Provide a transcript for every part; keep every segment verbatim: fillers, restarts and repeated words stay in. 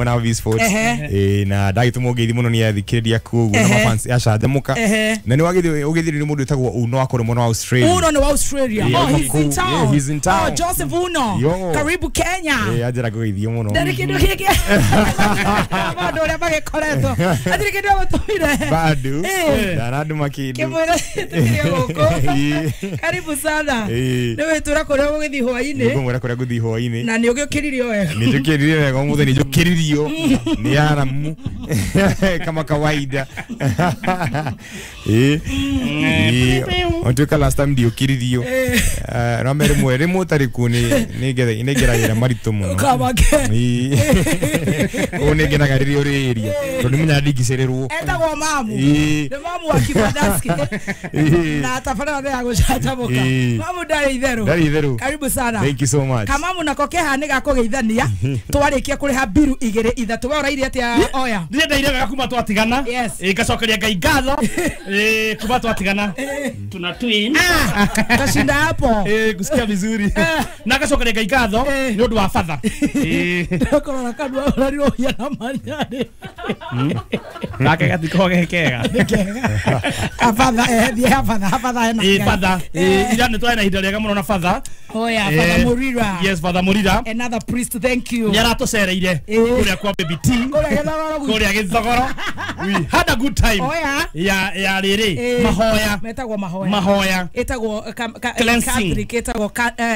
mwena wa V-Sports. Eh na ndagĩtũmwo ngeithi mũno nĩ athikĩrĩria kuo ũguo na mafans acanjamũka. Na nĩ wagĩthiĩ ũgĩthiĩ nĩ mũndũ wĩtagwo Uno akorwo mwena wa Australia. Uno ni wa Australia. Yeah, Oh, he's in town. Yeah, he's in town. Oh, Joseph Uno. Yo. Karibu Kenya. Eh anjĩra ngũgeithio mũno. Ndarĩ kĩndũ gĩkĩ. Maũndũ ũrĩa magĩkoretwo. Hatirĩ kĩndũ agũtũmire. Bado. Eh. Ndarandũma kĩndũ. Kĩmwĩra tũkĩrĩ gũkũ. Karibu sana. Eh. Nĩ wĩtũra kũrĩa ũgũgĩthiĩ hwaĩ-inĩ. Nĩngũmwĩra kũrĩa ngũthiĩ hwaĩ-inĩ. Na nĩ ũgĩũkĩririo wega. Nĩ njũkĩririo wega ũmũthĩ nĩ njũkĩririo nĩ aramu kama kawaida. Eh. Ontuĩka last time ndiũkĩririo. Eh no mere rĩmwe rĩmwe ũtarĩ kuo nĩ nĩ ngeragĩra maritũ mũno. Ũkamake. Ũũ nĩ ngenaga rĩrĩa ũrĩ area tondũ nĩ menyaga ndingĩcererwo. Etagwo mamu. Ĩĩ. Nĩ mamu wa Kibandaski. Na tabarĩra ya gũcanjamũka. Mamu ndarĩ itherũ. Ndarĩ itherũ. Karibu sana. Thank you so much. Kamamu nako keha nĩ gakũgeithania twarĩkia kũrĩha mbiru igĩrĩ ithatũ. We ũraire atĩa oya? Ndiĩ ndaire wega kuma twatigana. Yes. Ĩ ngacokeria Ngai ngatho. Ĩ kuma twatigana. Tuna twin. Ah, kashinda hapo. Eh kusikia vizuri. Na ngacokeria Ngai ngatho nĩ ũndũ wa father. Eh ndakora kanua ũrarirwo ũhia na manyarĩ. Gake gatiko ge kega. Afatha eh thiĩ afatha afatha ena. Ĩ father. Ĩ ira nĩ twarĩ na ihinda rĩega mũno na father. Oh yeah, Father Murira. Yes, Father Murira. Another priest, thank you. Nĩ aratucereire kũrĩa kwa Baby T. Kũrĩa Gĩthogoro. Kũrĩa Gĩthogoro. We had a good time. Oh yeah. Ya ya rĩrĩ mahoya. Metagwo mahoya. Mahoya. Ĩtagwo Catholic ĩtagwo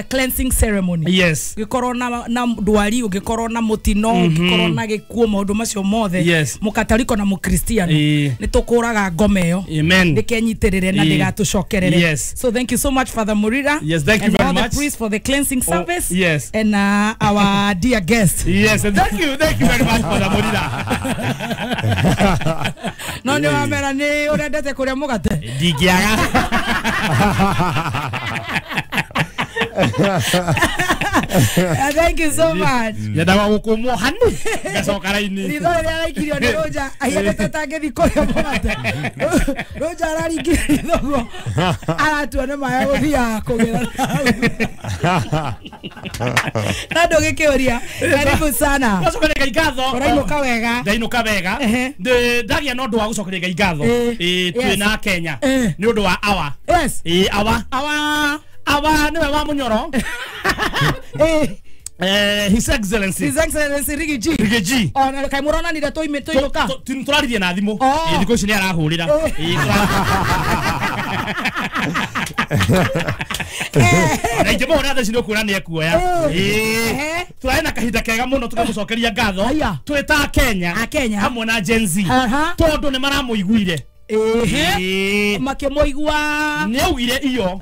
cleansing ceremony. Yes. Ũngĩkorwo na na ndwari, ũngĩkorwo na mũtino, ũngĩkorwo na gĩkuũ, maũndũ macio mothe. Mũkatariko na mũkristiano. Nĩ tũkũraga ngoma ĩyo. Amen. Ndĩkenyitĩrĩre na ndĩgatũcokerere. Yes. So thank you so much, Father Murira. Yes, thank you very all much. The priests for the cleansing service. Oh, yes. And uh, our dear guest. Yes, and thank you, thank you very much, Father Murira. No nĩ wamera nĩ ũrendete kũrĩa mũgate. Ndingĩaga. Uh, thank you so much. Nyendaga gũkũmwo hani ngacoka raini. Ritho rĩrĩa araikirio nĩ Rũnja ahianĩte ta angĩthiĩ kũrĩa mũgate. Rũnja araringire ritho ũguo aratua nĩ maĩ gũthiaga kũgĩra na ndũgĩkĩũria. Karibu sana. Ngacokeria Ngai ngatho. Ũrainũka wega. Ndainũka wega. Ndagĩa na ũndũ wa gũcokeria Ngai ngatho. Twĩ na Kenya nĩ ũndũ wa awa. Yes. Awa. Awa. Awa niwe wa Munyoro. Eh Eh His Excellency. His Excellency Riggy G. Riggy G. Oh na kai muronanire tũime tũinũka. Tũraririe na thimũ. Ĩ thikũ ici nĩ arahũrĩra. Ĩ na ingĩmũhũrĩra thaa ici nĩ ũkuona nĩ ekuoya. Ĩ tũrarĩ na kahinda kega mũno tũkamũcokeria ngatho. Twĩ ta Kenya. Kenya. Hamwe na Gen Z. Tondũ nĩ maramũiguire. Ĩhĩ. Makĩmũigua. Nĩ augire iyo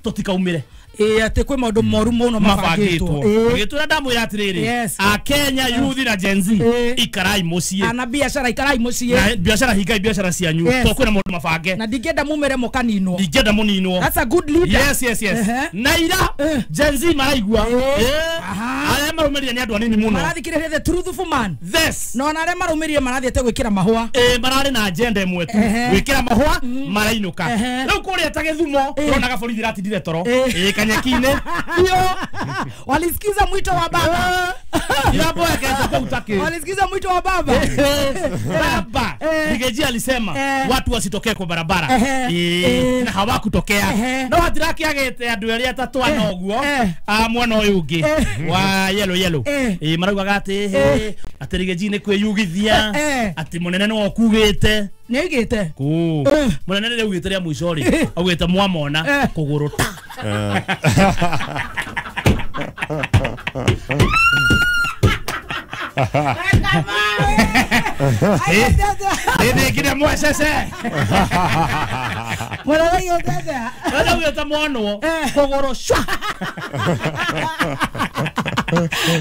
tũtikaumĩre. Ĩ atĩ kwĩ maũndũ moru mũno mabangĩtwo. Gĩtũra ndamwĩra atĩrĩrĩ a Kenya youth na Gen Z ikarai mũciĩ. Ana biacara ikarai mũciĩ. Na biacara hingai biacara cianyu to kwĩna maũndũ mabange. Na ndingĩenda mumĩre mũkaninwo. Ndingĩenda mũninwo. That's a good leader. Yes, yes, yes. Na ira Gen Z maraigua. Arĩa marũmĩrĩire nĩ andũ anini mũno. Marathikĩrĩria the truthful man. Yes. No ona arĩa marũmĩrĩire marathiĩte gwĩkĩra mahũa. Ĩ mararĩ na agenda ĩmwe tu. Gwĩkĩra mahũa marainũka. Rĩu kũrĩa ta Gĩthumo ũronaga borithi iratindire toro. Ĩ kanyeki-inĩ. Walisikiza mwito wa baba. Walisikiza mwito wa baba. Baba Riggy G alisema watu wasitokee kwa barabara. Na hawakutokea. No hatirakĩagĩte andũ erĩ atatũ ana ũguo a mwena ũyũ ũngĩ wa yellow yellow. Ĩ maraugaga atĩ atĩ Riggy G nĩ kwĩyugithia atĩ mũnene nĩwe ũkugĩte. Nĩ augĩte? Kũ. Mũnene nĩ augĩte rĩa mũico rĩ augĩte mwamona kũgũrũ ta. Nĩ mwecece. Mũnene augĩte atĩa? Mũnene augĩte mwanwo kũgũrũ cwa.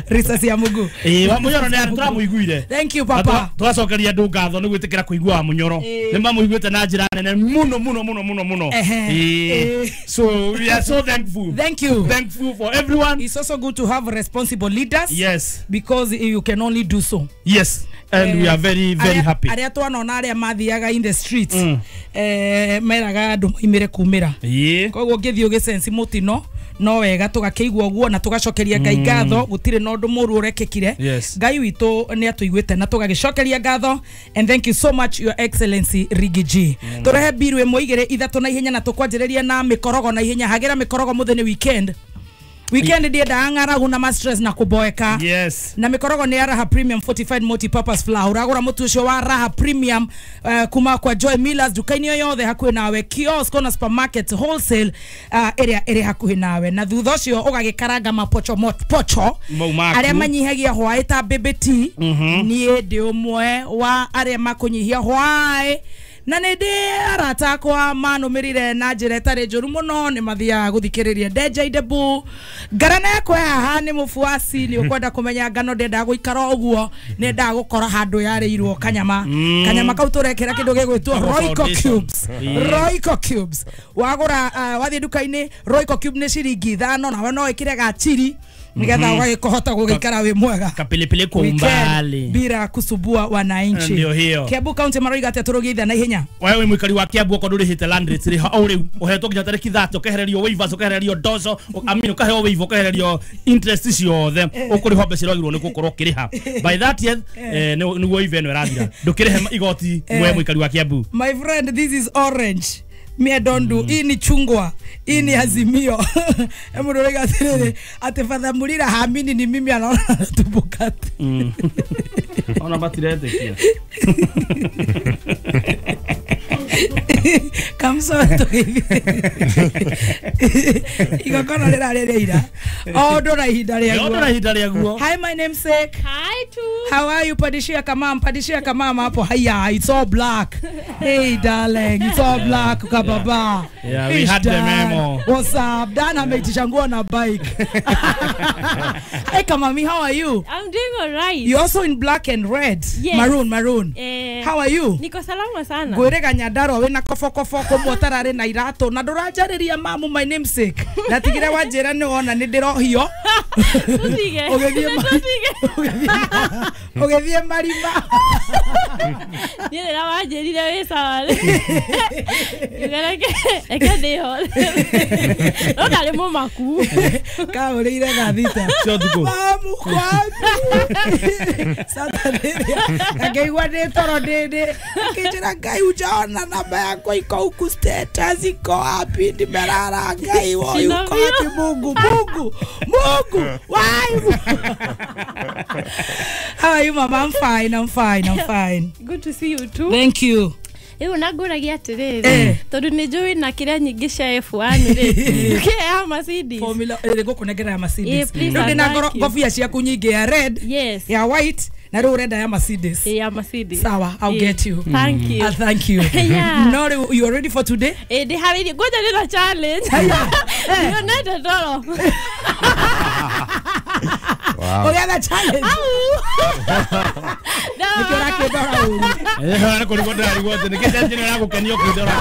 Risasi ya mugu. Eh wa Munyoro nĩ tũramũiguire. Thank you papa. Tũgacokeria andũ ngatho nĩ gwĩtĩkĩra kũigua wa Munyoro. Nĩ mamũiguĩte na njĩra nene mũno mũno mũno mũno mũno. Eh so we are so thankful. Thank you. Thankful for everyone. It's also good to have responsible leaders. Yes. Because you can only do so. Yes. And we are very very happy. Arĩa twanona arĩa mathiaga in the streets eh meraga andũ moimĩre kumĩra. Koguo ũngĩthiĩ ũgĩsensi mũtino no wega tũgakĩigua ũguo na tũgacokeria Ngai ngatho. ngatho gutire na undu muru urekekire. Yes. Ngai witu ni atuiguite na tugagicokeria ngatho, and thank you so much, Your Excellency Riggy G. mm. Turehe biru imwe igire ithatu na ihenya na tukwanjiriria na mikorogo na ihenya hagira mikorogo muthenya weekend. Weekend ndiendaga ng'aragu na ma stress na kuboeka. Yes. Na mikorogo ni ya Raha Premium Fortified Multi-Purpose Flour. Uragura mutu ucio wa Raha Premium uh, kuma kwa Joy Millers dukaini yothe hakuhi nawe, kiosk na supermarket wholesale uh, area area hakuhi nawe. Na thutha ucio ugagikaranga mapocho mot pocho aria manyihagia hwaĩ ta baby tea. Nie ndi umwe wa aria makunyihia hwaĩ na nä ndä arata akwa manå na njä ra ĩtarĩ njũru mũno nĩ mathiaga gũthikĩrĩria Ndenja Idebu. Ngarana yakwa haha nĩ mũbuaci nĩ ũkwenda kũmenya ngano ndendaga gũikara ũguo nĩ endaga gũkora handũ yarĩirwo kanyama. mm. Kanyama kau tũrekĩra kĩndũ gĩgwĩtwo Royco Cubes. Royco Cubes wagũra uh, wathiĩ nduka-inĩ Royco Cube nĩ ciringi ithano nawe no ĩkĩre gachiri nigetha ũgagĩkũhota gũgĩikara wĩ mwega kapilipili kwa umbali bila kusubua wananchi. Ndio hiyo. Kiambu County maroiga atia tũrũgĩithia na ihenya. Wewe mwikari wa Kiambu okorwo ndũrĩhĩte land rates rĩ o rĩu ũhetwo nginya tarĩki thate ũkehererio waivers ũkehererio dozo I mean ũkaheo waiver ũkehererio interest ciothe ũkũrĩhwo mbeca iria wagĩrĩirwo nĩ gũkorwo ũkĩrĩha by thirtieth nĩguo waiver ĩno ĩrathira ndũkĩrĩhe igoti we mwikari wa Kiambu. My friend, this is orange. Me I don't do. Hii ni chungwa, hii ni Azimio. Mundu rega atiriri ati Father Murira hamini ni mimi anaona tubukati. Mm. Ona batiretekia. Kamso to hivi. Igongona rĩrarĩrĩira. O ũndũ na ihinda rĩaguo. Ũndũ na ihinda rĩaguo. Hi my namesake. Hi too. How are you? Padishia kamam, padishia kamam hapo. Haya, it's all black. Hey darling, it's all black kababa. Yeah, yeah, we had the memo. What's up? Dan ameitisha nguo na bike. Hey kamami, how are you? I'm doing all right. You're also in black and red. Yes. Maroon, maroon. Eh, how are you? Niko salama sana. Ngwĩrĩga Nyandarua wĩna kobokoboko mũtararĩ na iratũ na ndũranjarĩria mamu my namesake. Ndatigire wanjĩra nĩ wona nĩ ndĩrohio. Tũtige. Ũgĩthiĩ marima. Niĩ rĩrĩa wanjĩrire wĩ sawa rĩ. Ngiuga reke ndĩho. No ndarĩ mũmaku. Kaũrĩire thaa thita. Cia ũtukũ. Mamu kwapi. Saturday. Akĩigua ndĩ toro ndĩ ndĩ. Akĩnjĩra Ngai ujaona namba yakwa iko huku status iko wapi nimelala Ngai woi uko wapi Mungu Mungu Mungu why. How are you mama? I'm fine, I'm fine, I'm fine. Good to see you too. Thank you. Rĩu na ngũragia atĩrĩrĩ tondũ nĩ njũĩ na kĩrĩa nyingĩ cia F one rĩ ndũkĩhe ya Mercedes formula rĩ ngũkũnengera ya Mercedes rĩu ndĩna ngobia ciaku nyingĩ ya red, yes, ya white na rĩu ũrenda ya Mercedes. Ya Mercedes. Sawa, I'll get you. Thank you. Uh, thank you. Yeah. No, you are ready for today? Eh, ndĩharĩirie ngoja ndĩna challenge. Ndionete toro. Wow. Ũgetha challenge. Nĩkĩo ũrakĩndora ũru. Eh, nĩ kũrigwo ndĩrarigwo atĩ nĩkĩ challenge ĩno ĩragũkenia ũkĩndora.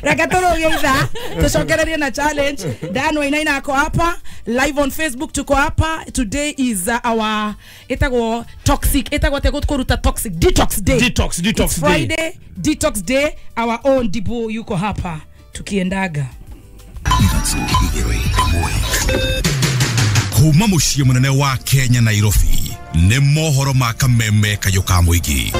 Reke tũrũgie ithaa tũcokererie na challenge. Dan Wainaina ako hapa live on Facebook, tuko hapa. Today is uh, our ĩtagwo toxic ĩtagwo atĩa kũruta toxic detox day. Detox, detox It's day. Friday detox day. Our own Dibu yuko hapa tukiendaga. Kuma muciĩ mũnene wa Kenya Nairobi nĩ mohoro ma kameme kayũ ka mũingĩ.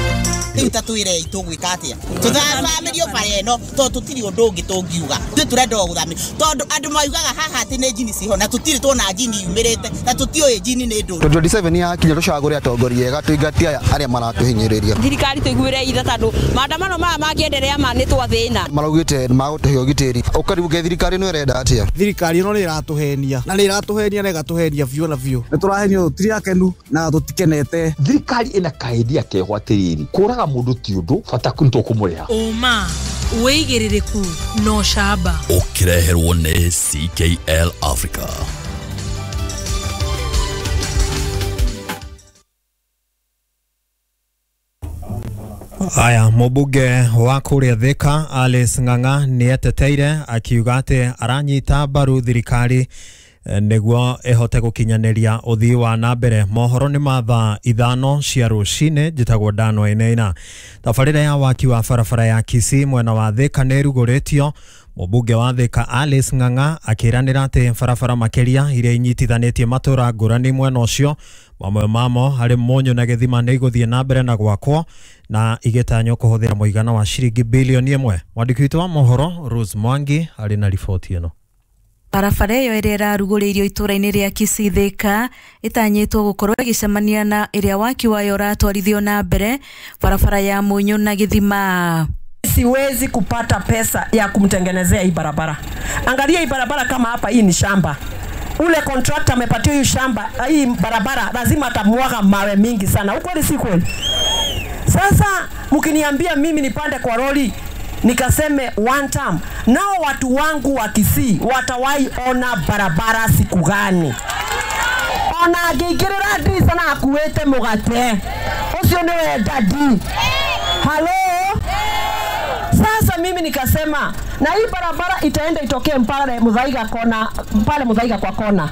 Rĩu ta twĩrei tũgwĩka atĩa tũthamĩrio bara ĩno tondũ tũtirĩ ũndũ ũngĩ tũngiuga ithuĩ tũrenda o gũthamĩrio tondũ andũ maugaga haha atĩ nĩ njini ciho na tũtirĩ tuona njini yumĩrĩte na tũtiũĩ njini nĩ ndũ. twenty twenty-seven yakinya tũcagũre atongoria ega tũingatie aya arĩa maratũhinyĩrĩria. Thirikari tũiguĩre itha tondũ maandamano maya mangĩenderea ma nĩ twathĩna. Maraugĩte magũtũhe ũgitĩri ũkaribuke thirikari ĩno ĩrenda atĩa? Thirikari ĩno nĩ ĩratũhenia na nĩ ĩratũhenia na ĩgatũhenia biũ na biũ. Nĩ tũrahenio tũtirĩ akenu na tũtikenete. Thirikari ĩna kaendia keho atĩrĩrĩ kũraga mũndũ ti ũndũ bata nĩ tũkũmũrĩha. Ũma wĩigĩrĩrĩku no camba ũkĩreherwo nĩ C K L Africa. Aya, mũmbunge wa kũrĩa Thika Alice Ng'ang'a nĩ eteteire akiuga atĩ aranyita mbaru thirikari nĩguo ĩhote gũkinyanĩria ũthii wa na mbere. Mohoro nĩ ma thaa ithano cia rũcinĩ. Njĩtagwo Dan Wainaina. Tabarĩra ya waki wa barabara ya Kisii mwena wa Thika nĩ ĩrugũrĩtio. Mũmbunge wa Thika Alice Ng'ang'a akĩranĩra atĩ barabara makĩria iria inyitithanĩtie matũra ngũrani mwena ũcio mamwe mamo harĩ Mũnyũ na Gĩthima nĩ igũthiĩ na mbere na gwakwo na igĩtanywo kũhũthĩra mũigana wa ciringi bilioni ĩmwe. Mwandĩki witũ wa mohoro Rose Mwangi arĩ na riboti ĩno. Barabara ĩyo ĩrĩa ĩrarugũrĩirio itũra-inĩ rĩa Kisii Thika ĩtanyĩtwo gũkorwo ĩgĩcemania na ĩrĩa waki wayo ũratwarithio na mbere barabara ya Mũnyũ na Gĩthima. Siwezi kupata pesa ya kumtengenezea hii barabara. Angalia hii barabara kama hapa, hii ni shamba. Ule contractor amepatiwa hii shamba, hii barabara lazima atamwaga mawe mingi sana. Ukweli si kweli? Sasa mkiniambia mimi nipande kwa lori nikaseme one term, nao watu wangu wa Kisii watawai ona barabara siku gani? Ona angĩingĩrĩra ndirica na akuĩte mũgate ũcio nĩwe dadi. Halo. Sasa mimi nikasema na hii barabara itaenda itokee pale Muthaiga kona, pale Muthaiga kwa kona.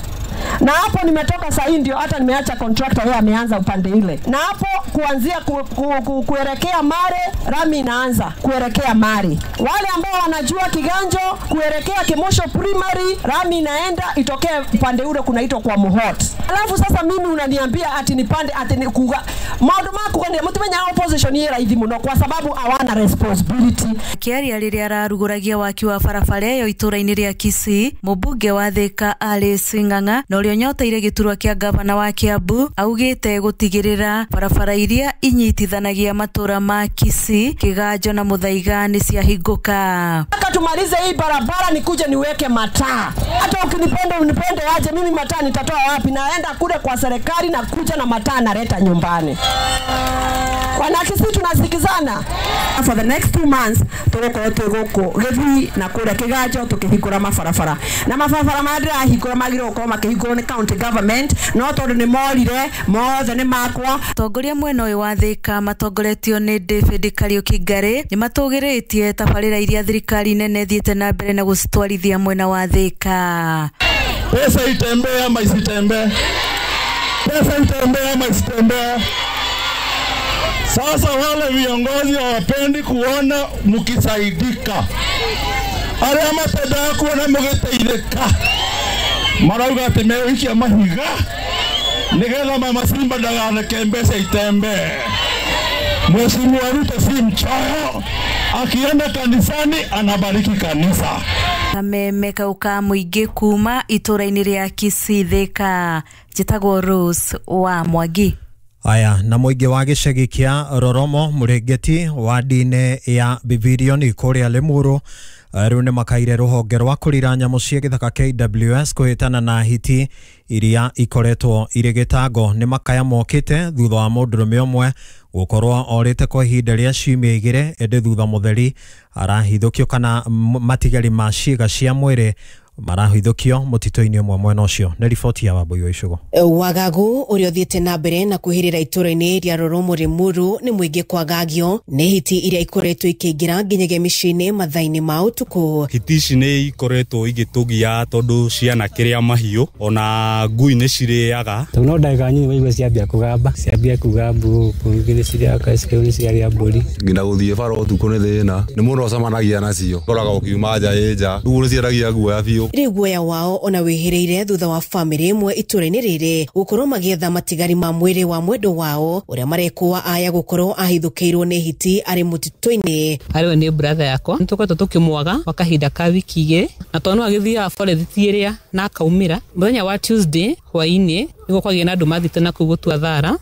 Na hapo nimetoka saa hii ndio hata nimeacha contractor yeye ameanza upande ile. Na hapo kuanzia ku, ku, ku, kuelekea Mare, rami inaanza kuelekea Mare. Wale ambao wanajua Kiganjo kuelekea Kimosho Primary, rami inaenda itokee upande ule kunaitwa kwa Muhot. Alafu sasa mimi unaniambia ati nipande ati ni kuga maundu maku ni mutumenya opposition yera ithi muno kwa sababu hawana responsibility. Kiaria riria araruguragia waki wa barabara ĩyo itũra-inĩ rĩa Kisii, mũmbunge wa Thika Alice Ng'ang'a na ũrĩa ũnyoteire gĩturwa kĩa gavana wa Kiambu augĩte gũtigĩrĩra barabara iria inyitithanagia matũra ma Kisii, Kiganjo na Muthaiga nĩ ciahingũka. Nataka tumalize hii barabara nikuje niweke mataa. Hata ukinipenda unipende aje, mimi mataa nitatoa wapi? Naenda kule kwa serikali na kuja na mataa naleta nyumbani. Wanakisii tunasikizana. For the next two months tugukorwo twĩ gũkũ Gĩthii na kũrĩa Kĩganjo tũkĩhingũra mabarabara. Na mabarabara marĩa ndĩrahingũra magĩrĩirwo gũkorwo makĩhingũrwo nĩ county government, no tondũ nĩ morire mothe nĩ makwa. Atongoria mwena ũyũ wa Thika matongoretio nĩ David Kariuki Ngari nĩ matũgĩrĩtie tabarĩra iria thirikari nene ĩthiĩte na mbere na gũcitwarithia mwena wa Thika. Pesa itembee ama isitembee? Pesa itembee ama isitembee? Sasa wale viongozi hawapendi kuona mkisaidika. Arĩa matendaga kuona mũgĩteithĩka marauga atĩ megũikia mahiga nĩgetha Mama Simba ndagareke mbeca itembee. Mheshimiwa Ruto si mchoyo, akienda kanisani anabariki kanisa. Kameme kau ka mũingĩ kuma itũra-inĩ rĩa Kisii Thika, njĩtagwo Rose wa Mwangi. Aya, na mũingĩ wa gĩcagi kĩa Roromo Mũrĩngĩti wadi-inĩ ya Bivirioni kũrĩa Limuru rĩu nĩ makaire rũhonge rwa kũrira nyamũ cia gĩthaka K W S kũhĩtana na hiti iria ikoretwo irĩ gĩtango. Nĩ makaya mokĩte thutha wa mũndũrũme ũmwe gũkorwo orĩte kwa ihinda rĩa ciumia igĩrĩ, ĩndĩ thutha mũtheri arahithũkio kana matigari ma ciĩga cia mwĩrĩ marahithũkio mũtitũ-inĩ ũmwe mwena ũcio. Nĩ riboti ya Wambui wa Icũgũ. Wagagu ũrĩa ũthiĩte na mbere na kwĩhĩrĩra itũra-inĩ rĩa Roromo Limuru nĩ mũingĩ kwagagio nĩ hiti iria ikoretwo ikĩingĩra nginyagia mĩciĩ-inĩ mathaa-inĩ ma ũtukũ. Hiti ici nĩ ikoretwo igĩtũgia tondũ ciana kĩrĩa mahiũ ona ngui nĩ cirĩaga. Tondũ no ndagĩka nyinyi waigua ciambia kũgamba, ciambia kuga mbu, ingĩ nĩ cirĩaga cikĩu nĩ ciarĩa mbũri. Nginya gũthiĩ bara ũtukũ nĩ thĩna, nĩ mũndũ acemanagia nacio. Ũkoraga ũkiuma nja ĩ nja, rĩu nĩ ciaragia guoya biũ. Rĩu guoya wao ona wĩhĩrĩire thutha wa bamĩrĩ ĩmwe itũra-inĩ rĩrĩ gũkorwo magĩetha matigari ma mwĩrĩ wa mwendwa wao ũrĩa marekũa aya gũkorwo ahithũkĩirwo nĩ hiti arĩ mũtitũ-inĩ. Arĩ nĩ brother yakwa nĩ tũkoretwo tũkĩmwaga kwa kahinda ka wiki igĩrĩ na tondũ no agĩthiaga forest ĩrĩa na akaumĩra mũthenya wa Tuesday hwaĩ-inĩ nĩguo kwagĩa na andũ mathiĩte na kũu gũtua thara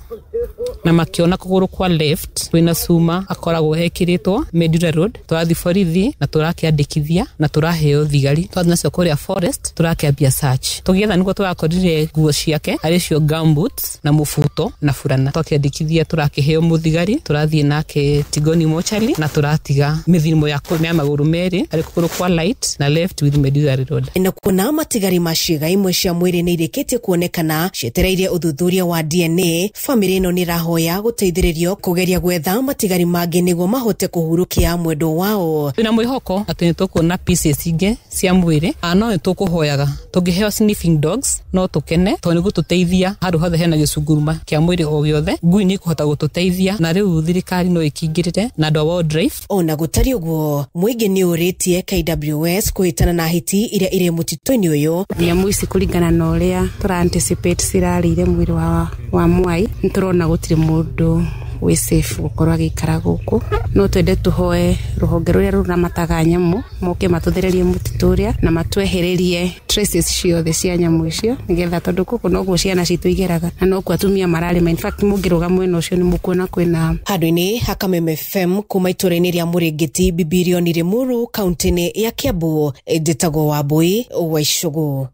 na makiona kũgũrũ kwa left kwĩna cuma akoragwo ekĩrĩtwo Medura Road. Tũrathiĩ borithi na tũrakĩandĩkithia na tũraheo thigari twathiĩ nacio kũrĩa forest tũrakĩambia search tũgĩetha nĩguo tũrakorire nguo ciake arĩ cio gumboots na mũbuto na burana. Twakĩandĩkithia tũrakĩheo mũthigari tũrathiĩ nake Tigoni mochari na tũratiga mĩthimo ya ya magũrũ merĩ arĩ kũgũrũ kwa right na left with Medura Road. Na kuona matigari ma ciĩga imwe cia mwĩrĩ nĩ irĩkĩtie kuonekana cietereire ũthuthuria wa D N A, bamĩrĩ ĩno nĩ ĩrahoya marahoya gũteithĩrĩrio kũgeria gwetha matigari mangĩ nĩguo mahote kũhurũkia mwendwa wao. Twĩna mwĩhoko atĩ nĩ tũkuona pieces ingĩ cia mwĩrĩ, no nĩ tũkũhoyaga tũngĩheo sniffing dogs no tũkene tondũ nĩ gũtũteithia handũ hothe hena gĩcunguruma kĩa mwĩrĩ o gĩothe, ngui nĩ ĩkũhota gũtũteithia na rĩu thirikari no ĩkĩingĩrĩre na andũ a wildlife. Ona gũtariĩ ũguo, mũingĩ nĩ ũrĩtie K W S kũhĩtana na hiti iria irĩ mũtitũ-inĩ ũyũ. Nyamũ ici kũringana na ũrĩa tũra anticipate cirarĩire mwĩrĩ wa, wa mwai, nĩ tũrona gũtirĩ mũndũ wĩ safe gũkorwo agĩikara gũkũ. No twende tũhoe rũhonge rũrĩa rũramataga nyamũ moke matũthererie mũtitũ ũrĩa na matwehererie traces ciothe cia nyamũ icio nĩgetha, tondũ gũkũ noguo ciana citũ igeraga na nokuo atumia mararĩma. In fact mũngĩrũga mwena ũcio nĩ mũkuona kwĩna handũ-inĩ ha Kameme F M kuma itũũra-inĩ rĩa Mũrĩngĩti, Bibirioni Limuru, kaunti-inĩ ya Kiambu, njĩtagwo Wambui wa Icũgũ.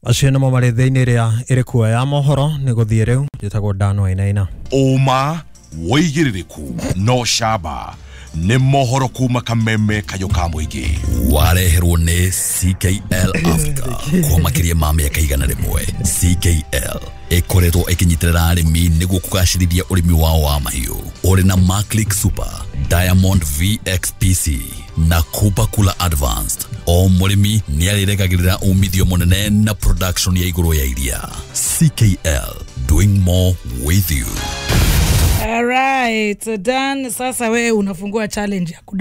Acio nĩmo marĩ thĩinĩ ĩrĩa ĩrĩ kuo ya mohoro. Nĩ gũthiĩ rĩu, njĩtagwo Dan Wainaina. Ũma wĩigĩrĩrĩku no camba nĩ mohoro kuma Kameme kayũ ka mũingĩ. Wareherwo nĩ C K L Africa kwa makĩria ma mĩaka igana rĩmwe. C K L ĩkoretwo ĩkĩnyitĩrĩra arĩmi nĩguo kũgacĩrithia ũrĩmi wao wa mahiũ. Ũrĩ na Maclick Super, Diamond V X P C na Kupa Kula Advanced. O mũrĩmi nĩ arĩregagĩrĩra umithio mũnene na production ya igũrũ ya iria. C K L, doing more with you. All right, Dan, sasa wewe unafungua challenge ya kuda